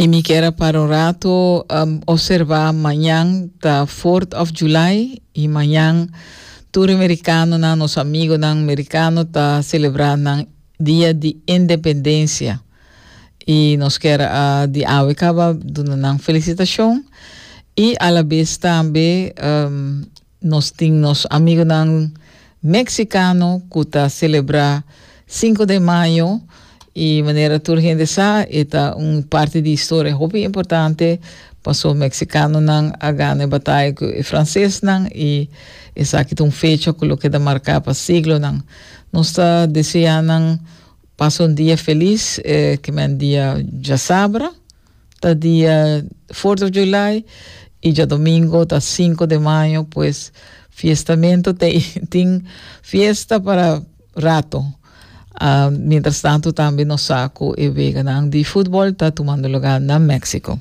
Y mi kier a para un rato um, observa mañan ta 4th of July y mañan tur americanonan, nos amigonan americano ta celebra nan dia di independencia. Y nos kier a di awe caba duna nan felicitacion y a la vez tambe um, Nos tin nos amigonan Mexicano cu ta celebra 5 de mayo y manera tur hende sa e ta un parti di historia hopi importante paso Mexicanonan a gana e bataya cu e Francesnan y esaki ta un fecha cu lo keda marca pa siglonan. Nos ta desea nan pasa un dia feliz, eh, ke men dia djasabra. Ta dia 4 of July y djadomingo ta 5 de mayo, pues fiestamento te tin fiesta para rato. Uh, mientras tanto tambe nos sa cu e weganan di futbol ta tumando lugar na Mexico.